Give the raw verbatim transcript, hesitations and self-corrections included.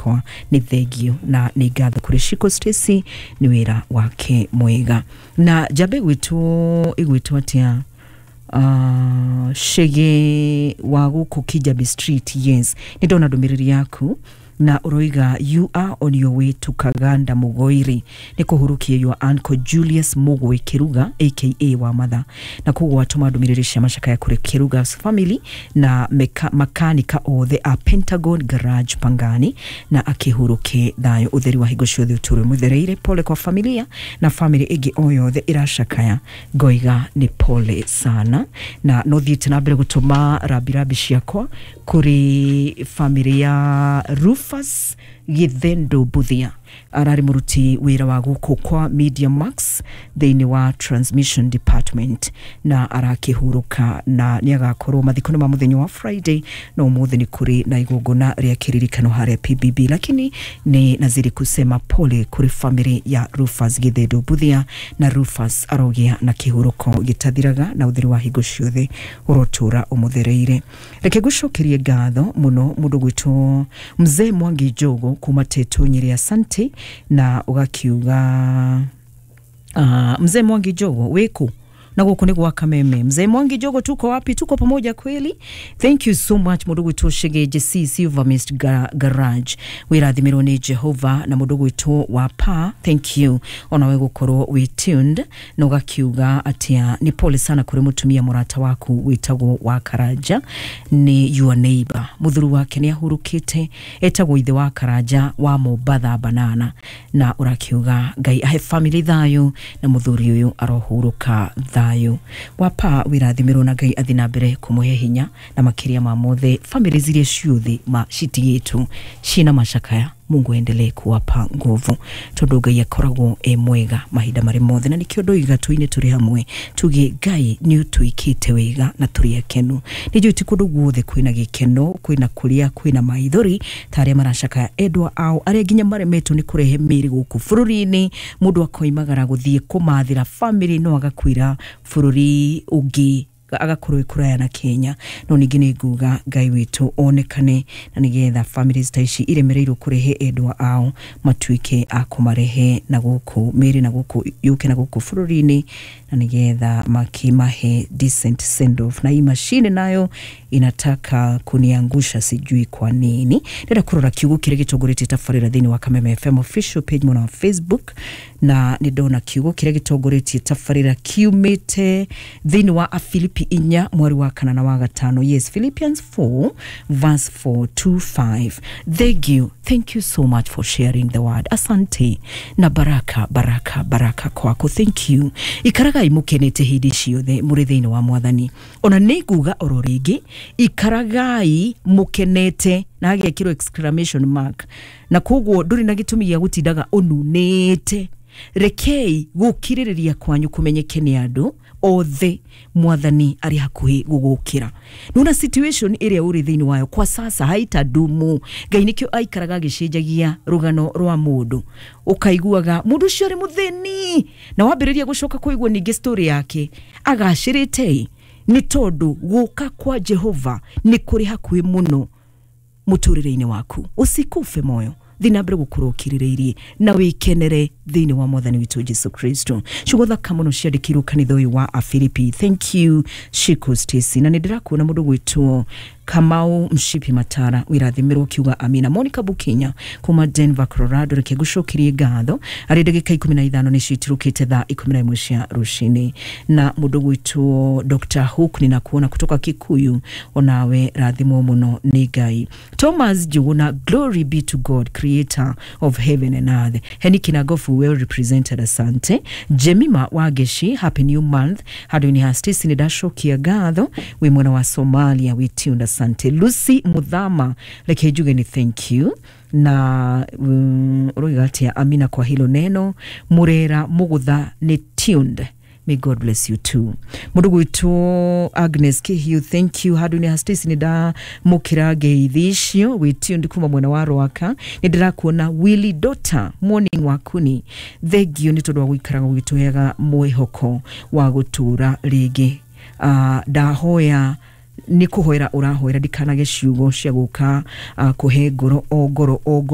Ciakwa nĩ thengio na nĩ ngatho kũrĩ Shiko Stacy nĩ wĩra wake mwega. Na njambe gwĩtwo ĩgwĩtwo atĩa, uh, Shege wa gũkũ Kijabi Street. Yes, nĩ ndona ndũmĩrĩri yaku na ũroiga you are on your way to Kaganda Mugoiri nĩ kũhurukia your uncle Julius Mugwe Kiruga aka wa Matha, na koguo watũma ndũmĩrĩri cia macakaya kũrĩ Kiruga's family na meka, makanika othe a Pentagon Garage Pangani, na akĩhurũke thayũ. Ũtheri wa hingo ciothe ũtũre mũthereire. Pole kwa familia na family ĩngĩ o yothe ĩracakaya, ngoiga nĩ pole sana. Na no thiĩte na mbere gũtũma rambirambi ciakwa kũrĩ family ya Rufus Githendo Buthia, ararĩ mũruti wĩra wa gũkũ kwa Media Max thĩinĩ wa transmission department, na arakĩhurũka na nĩ agakorwo mathiko nĩ ma mũthenya wa Friday, no ũmũthĩ nĩ kũrĩ na igongona rĩa kĩririkano harĩa P B B, lakini ni nazidi kusema pole kũrĩ family ya Rufus Githendo Buthia, na Rufus arogĩa na kĩhurũko gĩtathiraga na ũtheri wa hingo ciothe ũrotũra ũmũthereire. Reke ngũcokerie ngatho mũno mũndũ gwĩtwo Mzee Mwangi Njogo kuma Tetu Nyeri, asante. Na ũgakiuga uh, Mzee Mwangi Njogo wĩkũ? Na gũkũ nĩ gwa Kameme. Mzee Mwangi Njogo, tuko wapi? Tuko pamoja kweli. Thank you so much mũndũ gwĩtwo Shegeje C Silver Mist Ga Garage, wĩrathimirwo nĩ Jehova. Na mũndũ gwĩtwo wa pa, thank you onawe gũkorwo wĩ tuned. Na ũgakiuga atĩa, nĩ pole sana kũrĩ mũtumia mũrata waku wĩtagwo wa Karanja, nĩ your neighbor, mũthuri wake nĩ ahurũkĩte, etagwo ithe wa Karanja wa Mombatha Banana, na ũrakiuga Ngai ahe family thayũ na mũthuri ũyũ arohurũka thayũ. Wapa, wĩrathimirwo na Ngai athi na mbere kũmũhe hinya, na makĩria ma mothe family ziria ciothe ma citigĩtwo ciĩna macakaya, Mungu aendelee kuwapa nguvu, tondu Ngai akoragwo e mwega mahinda marĩ mothe. Na nikĩo ndoiga tuine tũrĩ hamwe tuge Ngai nĩ ũtwĩkĩte wega na tũrĩ akenu. Nĩ njũĩ ti kũndũ guothe kwĩna gĩkeno, kwĩna kũrĩa kwĩna maithori ta arĩa maracakaya endwa ao, arĩa nginya maremetwo nĩ kũrehe mĩĩrĩ gũkũ bũrũri-inĩ. Mũndũ akoimagara gũthiĩ kũmathĩra family no agakuĩra bũrũri ũngĩ, agakorwo ĩ kũraya na Kenya. No ningĩ nĩ nguga Ngai witũ onekane na nĩgetha families ta ici iremereirwo kũrehe endwa ao matuĩke a kũmarehe na gũkũ mĩĩrĩ na gũkũ yũke na gũkũ bũrũri-inĩ, na nĩgetha makimahe decent send off. Na hii mashine nayo inataka kuniangusha, sijui kwa nini. Ndĩrenda kũrora kiugo kĩrĩa gĩtongoretie tabarĩra thĩinĩ wa Kameme F M official page mwena wa Facebook, na nĩ ndona kiugo kĩrĩa gĩtongoretie tabarĩra kiumĩte thĩinĩ wa Afilipi inya mweri wa kana na wa gatano. Yes, Philippians four verse four to five. Thank you, thank you so much for sharing the word. Asante na baraka, baraka, baraka kwako. Thank you. Ikaragai mukenete hĩndĩ ciothe mũrĩ thĩinĩ wa Mwathani. Ona nĩ nguga oro rĩngĩ, ikaragai mukenete, na hagekĩrwo exclamation mark, na koguo ndũrĩ na gĩtũmi gĩa gũtindaga ũnunĩte. Rekei gũkirĩrĩria kwanyu kũmenyeke nĩ andũ othe, Mwathani arĩ hakuhĩ gũgũkĩra. Nona situation ĩrĩa ũrĩ thĩinĩ wayo kwa sasa haitadumu. Ngai nĩkĩo aikaraga agĩcenjagia rũgano rwa mũndũ, ũkaiguaga mũndũ ũcio arĩ mũthĩni na wambĩrĩria gũcoka kũigua ningĩ story yake agacĩrĩte, nĩ tondũ gũka kwa Jehova nĩ kũrĩ hakuhĩ mũno mũtũrĩre-inĩ waku. Usikufe moyo, thiĩ na mbere gũkorwo ũkirĩrĩirie na wĩkenere thĩinĩ wa Mwathani witũ Jesu Kristo. Ciugo thaka mũno ciandĩkirwo kanitha ũyũ wa Afilipi. Thank you, Shiko Stacy. Na nĩ ndĩrakuona mũndũ gwĩtwo Kamau Mshipi Matara, wĩrathimĩrwo, kiuga amina. Monica Bukinya kuma Denver, Colorado, reke ngũcokerie ngatho arĩ ndagĩka ikũmi na ithano nĩcio itirũkĩte thaa ikũmi na ĩmwe cia rũcinĩ. Na mũndũ gwĩtwo Doctor Hook, ninakuona kutoka Kikuyu, onawe rathimwo mũno nĩ Ngai. Thomas Njuguna, glory be to God, creator of heaven and earth. Heni Kinagofu, well represented, asante. Jemima Wageshi, happy new month. Handũ-inĩ ha Stacy nĩ ndacokia ngatho, wĩ mwena wa Somalia, wĩ tuned, asante. Lucy Muthama, reke njuge nĩ thank you. Na mm, ũroiga atĩa? Amina kwa hilo neno. Murera Mugutha nĩ tuned. May God bless you too. Mũndũ gwĩtwo Agnes Kihiu, thank you. Handũ-inĩ ha Stacy nĩ ndamũkĩra ngeithi icio, wĩ tuned kuma mwena wa Rwaka. Nĩ ndĩrakuona Willy Dota, morning wakuni. Thank you nĩ tondũ wa gũikaraga ũgĩtũheaga mwĩhoko wa gũtũra rĩngĩ. Uh, ndahoya nĩ kũhoera ũrahoera ndikanage ciugo cia gũka uh, kũhe ngoro o ngoro o ngoro.